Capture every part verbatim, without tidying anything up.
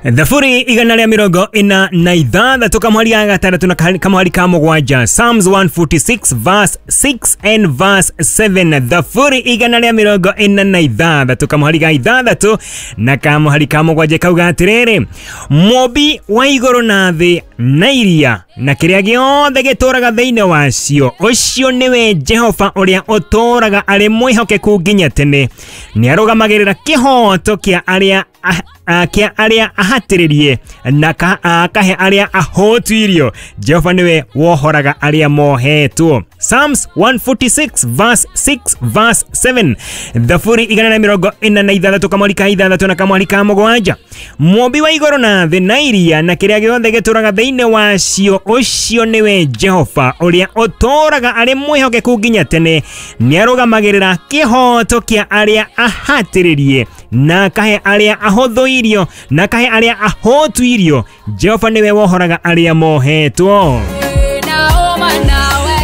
Thaburi igana rĩa mĩrongo ĩna na ithathatũ kamwari ga gatandatũ na kamwari ka mũgwanja. Psalms one forty-six verse six and verse seven. Thaburi igana rĩa mĩrongo ĩna na ithathatũ kamwari ga ithathatũ na kamwari ka mũgwanja kauga atĩrĩrĩ, mũmbi wa igũrũ na thĩ na iria na kĩrĩa gĩothe gĩtũũraga thĩinĩ wacio, ũcio nĩwe Jehova ũrĩa ũtũũraga arĩ mwĩhokeku nginya tene, nĩarũgamagĩrĩra kĩhooto kĩa arĩa kĩa arĩa ahatĩrĩrie na akahe arĩa ahũtu irio. Jehova nĩwe wohoraga arĩa mohetwo. Psalms one forty-six verse six verse seven. Thaburi igana na mĩrongo ĩna na ithathatũ kamwari ka ithathatũ na kamwari ka mũgwanja. Mũmbi wa igũrũ na thĩ na iria na kĩrĩa gĩothe gĩtũũraga thĩinĩ wacio, ũcio nĩwe Jehova ũrĩa ũtũũraga arĩ mwĩhokeku nginya tene, nĩarũgamagĩrĩra kĩhooto kĩa arĩa ahatĩrĩrie na akahe arĩa ahũthũ irio na akahe arĩa ahũtu irio. Jehova nĩwe wohoraga arĩa mohetwo.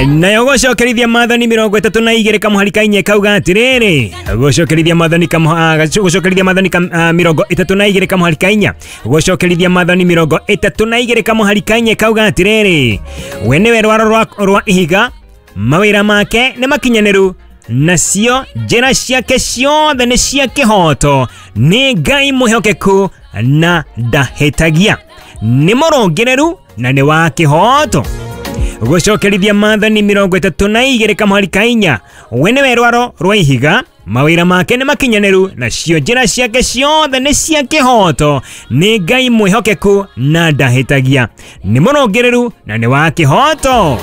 Nayo gũcokerithia maathani mĩrongo ĩtatũ na igĩrĩ kamũhari ka inya kauga atĩrĩrĩ, gũcokerithia maathani gũcokerithia maathani mĩrongo ĩtatũ na igĩrĩ kamũhari ka inya, gũcokerithia maathani mĩrongo ĩtatũ na igĩrĩ kamũhari ka inya kauga atĩrĩrĩ, we nĩwe rwaro rwa ihiga, mawĩra make nĩ makinyanĩru, nacio njĩra ciake ciothe nĩ cia kĩhooto, nĩ Ngai mwĩhokeku na ndahĩtagia, nĩ mũrũngĩrĩru na nĩ wa kĩhooto. Gũcokerithia maathani mĩrongo ĩtatũ na igĩrĩ kamũhari ka inya, we nĩwe rwaro rwa ihiga, mawĩra make nĩ makinyanĩru, nacio njĩra ciake ciothe nĩ cia kĩhooto, nĩ Ngai mwĩhokeku na ndahĩtagia, nĩ mũrũngĩrĩru na nĩ wa kĩhooto.